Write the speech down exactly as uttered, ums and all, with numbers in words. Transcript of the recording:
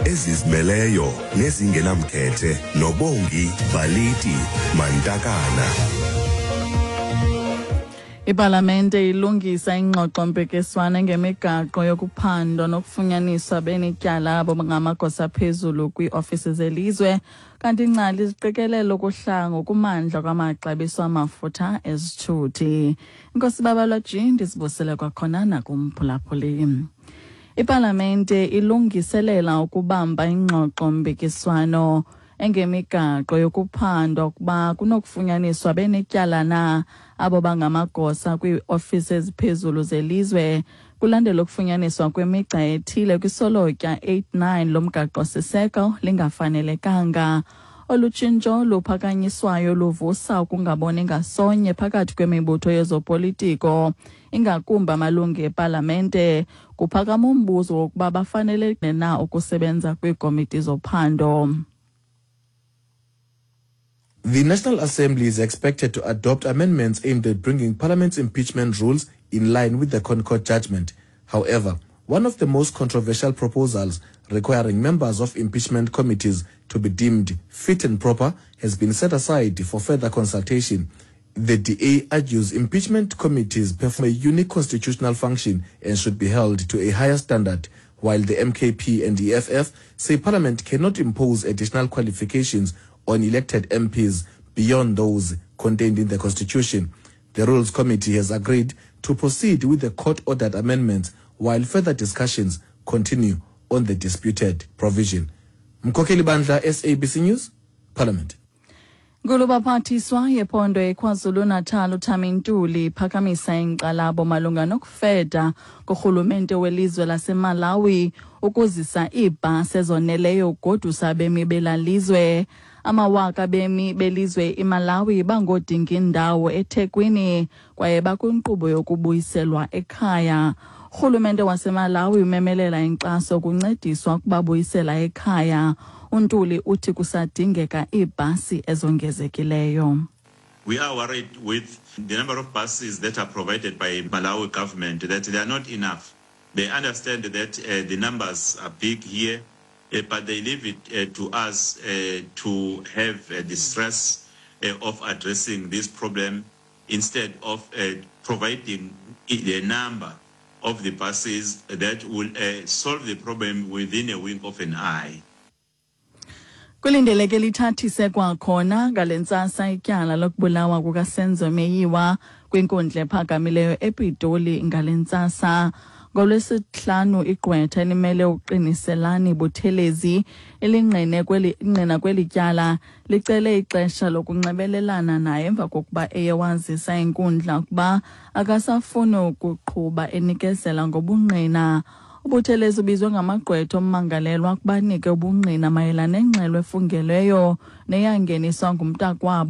Ezizimeleyo nezingenamkhethe noBongi Baliti Mantakana. Ipalamente ilungisa ingxoxo-mpikiswano ngemigaqo yokuphandwa nokufunyaniswa benetyala abo bangamagosa aphezulu kwiiofisi zelizwe, kanti ingcali ziqikelela ukuhla ngokumandla kwamaxabiso amafutha ezithuthi. Inkosi Babalwa G, ndizibusele kwakhona nakumphulaphuli. Ipalamente ilungiselela ukubamba ingxoxo-mpikiswano engemigaqo yokuphandwa ukuba kunokufunyaniswa benetyala na abo bangamagosa kwiiofisi eziphezulu zelizwe, kulandela ukufunyaniswa kwemigca ethile kwisolotya eighty-nine lomgaqo-siseko lingafanelekanga. Olu tshintsho luphakanyiswayo luvusa ukungaboni ngasonye phakathi kwemibutho yezopolitiko, ingakumbi amalungu epalamente. Kuphakama umbuzo wokuba bafanelekile na ukusebenza kwiikomiti zophando. The National Assembly is expected to adopt amendments aimed at bringing Parliament's impeachment rules in line with the ConCourt judgment. However, one of the most controversial proposals, requiring members of impeachment committees to be deemed fit and proper, has been set aside for further consultation. The D A argues impeachment committees perform a unique constitutional function and should be held to a higher standard, while the M K P and E F F say Parliament cannot impose additional qualifications on elected M Ps beyond those contained in the Constitution. The Rules Committee has agreed to proceed with the court-ordered amendments while further discussions continue on the disputed provision. Mkokeli Bandla, S A B C News, Parliament. Nkulubaphathiswa yephondo eKwaZulu-Natal uThami Ntuli iphakamisa inkxalabo malunga nokufeda kurhulumente welizwe laseMalawi ukuzisa iibhasi ezoneleyo ukugodusa abemi bela lizwe. Amawaka abemi belizwe iMalawi bangoodinga indawo eThekwini kwaye bakwinkqubo yokubuyiselwa ekhaya. Urhulumente waseMalawi umemelela inkxaso kuncediswa ukubabuyisela ekhaya. UNtuli uthi kusadingeka iibhasi ezongezekileyo. We are worried with the number of buses that are provided by Malawi government, that they are not enough. They understand that uh, the numbers are big here, uh, but they leave it uh, to us uh, to have uh, the stress uh, of addressing this problem instead of uh, providing the number of the buses that will uh, solve the problem within a wink of an eye. Kulindeleke lithathise kwakhona ngale ntsasa ityala lokubulawa kukaSenzo Meyiwa kwinkundla ephakamileyo ePitoli ngale ntsasa. NgolwesiHlanu igqwetha elimele uQiniselani Buthelezi, elingqine kweli ingqina kweli tyala, licele ixesha lokunxibelelana naye emva kokuba eye wazisa inkundla ukuba akasafuni ukuqhuba enikezela ngobungqina. UButhelezi ubizwe ngamagqwetha ommangalelwa ukuba anike ubungqina mayelana nengxelo efungelweyo neyangeniswa ngumntakwabo.